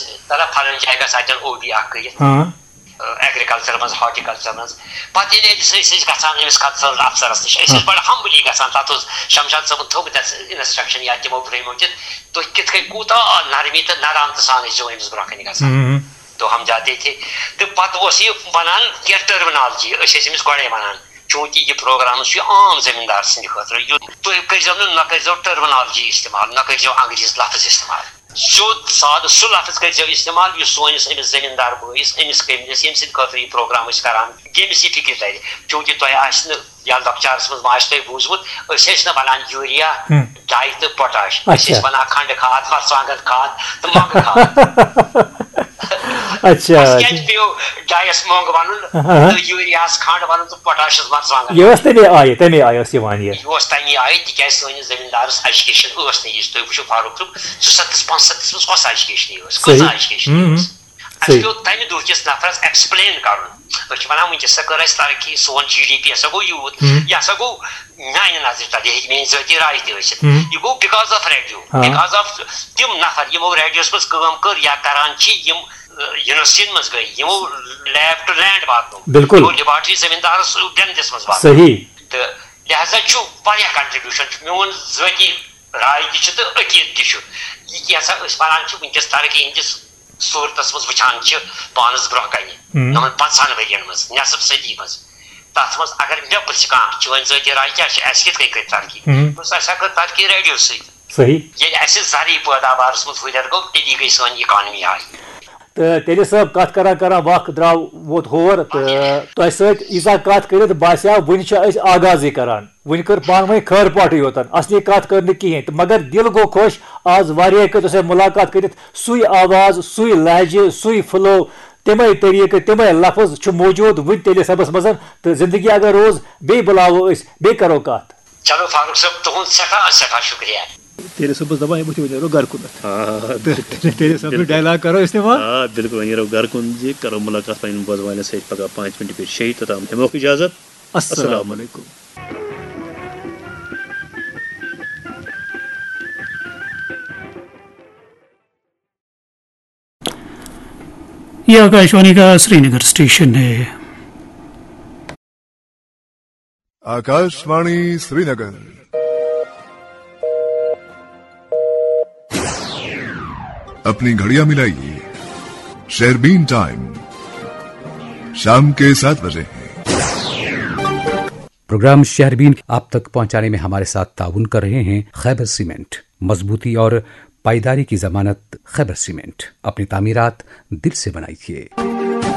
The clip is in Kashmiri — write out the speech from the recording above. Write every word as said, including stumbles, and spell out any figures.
دَپان فلٲنۍ جایہِ گژھ اَتٮ۪ن او بی اَکھ کٔرِتھ، ہاں۔ ایگریکلچر منٛز، ہارٹیکلچر منٛز۔ پتہٕ ییٚلہِ أمِس، أسۍ ٲسۍ گژھان أمِس کلچرل افسرس نِش، أسۍ ٲسۍ بڑٕ ہمبلی گژھان۔ تتھ اوس شمشاد صٲبن تھوٚومُت اَسہِ انسٹرکشن یا تِمو پرٛٲومٕتۍ، تُہۍ کِتھ کٔنۍ کوٗتاہ نرمی تہٕ نرم تہٕ سان ٲسۍزیو أمِس برونٛہہ کنہِ گژھان۔ ہم۔ تو ہم جاتے تھے۔ تہٕ پتہٕ اوس یہِ ونان کینٛہہ ٹرمنالجی، أسۍ ٲسۍ أمِس گۄڈے ونان، چوٗنٛکہِ یہِ پروگرام چھُ عام زٔمیٖندار سٕنٛدِ خٲطرٕ، یہِ تُہۍ کٔرۍزیو نہٕ، نہ کٔرۍزیو ٹرمنالجی استعمال، نہ کٔرۍزیو انگریز لفظ استعمال۔ سیوٚد سادٕ سُہ لفظ کٔرۍزیو استعمال، یُس سٲنِس أمِس زٔمیٖندار بٲیِس، أمِس کٔمِلِس، ییٚمہِ سٕنٛدِ خٲطرٕ یہِ پروگرام أسۍ کران، ییٚمِس یہِ فِکِر تَرِ۔ چوٗنٛکہِ تۄہہِ آسہِ نہٕ، یا لۄکچارَس منٛز ما آسہِ تۄہہِ بوٗزمُت، أسۍ ٲسۍ نہٕ وَنان یوٗریا، ہم۔ ڈاے تہٕ پوٹاش۔ أسۍ ٲسۍ اچھا۔ وَنان کھنٛڈٕ کھاد، مَرژٕوانٛگَن کھاد تہٕ مۄنٛگہٕ کھاد۔ اچھا، اَسہِ کیٛازِ اچھا۔ پیوٚو ڈایَس مۄنٛگ وَنُن ہاں۔ تہٕ یوٗریاہَس کھنٛڈ وَنُن تہٕ پوٹاشَس مَرژٕوانٛگَن؟ یہِ ٲس تَمے آیہِ، تَمے آیہِ ٲس یِوان یہِ۔ یہِ اوس تَمے آیہِ، تِکیٛازِ سٲنِس زٔمیٖندارَس ایجوکیشن ٲس نہٕ یِژھ۔ تُہۍ وٕچھِو فاروق صٲب، ژُسَتَتھ پانٛژسَتَتھ منٛز کۄس ایجوکیشن ٲس؟ صحیح۔ کۭژاہ ایجوکیشن ہم۔ ٲس؟ اَسہِ صحیح۔ پیوٚو تَمہِ دۄہ کِس نفرَس ایکسپلین کَرُن۔ أسۍ چھِ وَنان، وٕنکیٚس ہسا کٔر اَسہِ ترقی، سون جی ڈی پی ہسا گوٚو یوٗت، ہم۔ یہِ ہسا گوٚو میٛانہِ نظرِ تَل، یہِ ہیٚکہِ میٛٲنۍ ذٲتی راے تہِ ٲسِتھ۔ ہم۔ یہِ گوٚو because of radio، ہاں۔ Because of تِم نفر یِمو ریڈیوَس منٛز کٲم کٔر یا کران چھِ، یِم، ٲ، یونیورسٹین منٛز گٔے، یِمو لیب ٹُو لینڈ واتنو، بِلکُل۔ یِمو لیبارٹری زٔمیٖندارَس ڈٮ۪مدِس منٛز واتنو۔ صحیح۔ تہٕ لہذا چھُ واریاہ کنٹریبیوشن چھُ۔ میون ذٲتی راے تہِ چھُ تہٕ عقیٖدٕ تہِ چھُ۔ یہِ کیٛاہ سا أسۍ وَنان چھِ وٕنکیٚس ترقی ہٕنٛدِس صوٗرتَس منٛز وٕچھان چھِ پانَس برٛونٛہہ کَنہِ، ہم۔ یِمَن پنٛژاہَن ؤرِیَن منٛز، نٮ۪صٕف صٔدی منٛز، تَتھ منٛز اگر مےٚ پرٛژھِ کانٛہہ، "چٲنۍ ذٲتی راے کیٛاہ چھِ؟ اَسہِ کِتھ کٔنۍ کٔرۍ ترقی؟" ہم۔ بہٕ چھُس، اَسہِ ہا کٔر ترقی ریڈیو سۭتۍ۔ صحیح۔ ییٚلہِ اَسہِ زرعی پٲداوارَس منٛز ہُرٮ۪ر گوٚو، تیٚلی گٔے سٲنۍ اِکانمی ہاے۔ تہٕ تیٚلہِ صٲب، کَتھ کران کران وقت درٛاو، ووت ہور، تہٕ تۄہہِ سۭتۍ ییٖژاہ کَتھ کٔرِتھ باسیٛاو وُنہِ چھِ أسۍ آغازٕے کران۔ وۄنۍ کٔر پانہٕ ؤنۍ خٲر پٲٹھٕے یوتن، اصلی کتھ کٔر نہٕ کِہیٖنۍ تہٕ مگر دِل گوٚو خۄش۔ آز واریاہے کٲلۍ تۄہہِ سۭتۍ مُلاقات کٔرِتھ، سُے آواز، سُے لہجہٕ، سُے فلو، تِمے طریٖقہٕ، تِمے لفظ چھُ موجود وُنہِ تیلہِ صٲبس منٛز۔ تہٕ زندگی اگر روز، بیٚیہِ بُلاوو أسۍ، بیٚیہِ کرو کتھ۔ چلو فاروق صٲب، تُہُنٛد سٮ۪ٹھاہ سٮ۪ٹھاہ شُکریہ۔ تیلہِ صٲبس دپان، یہِ بُتھِ وۄنۍ نیرو گرٕ کُنتھ۔ آ، تہٕ بِلکُل۔ تیلہِ صٲب سُنٛد بِلکُل۔ ڈایلاگ کرو استعمال۔ آ، بِلکُل، وۄنۍ نیرو گرٕ کُن زِ کرو مُلاقات پنٕنٮ۪ن بوزوالٮ۪ن سۭتۍ پگاہ پانٛژِ مِنٹہِ پٮ۪ٹھ شیٚیہِ، توٚتام ہٮ۪موکھ اجازت۔ السلام السلام۔ علیکم۔ ये आकाशवाणी का श्रीनगर स्टेशन है। आकाशवाणी श्रीनगर। अपनी घड़ियां मिलाइए, शेरबीन टाइम शाम के सात बजे है। प्रोग्राम शहरबीन आप तक पहुंचाने में हमारे साथ ताउन कर रहे हैं खैबर सीमेंट। मजबूती और पाईदारी की जमानत खैबर सीमेंट। अपनी तामीरात दिल से बनाइए।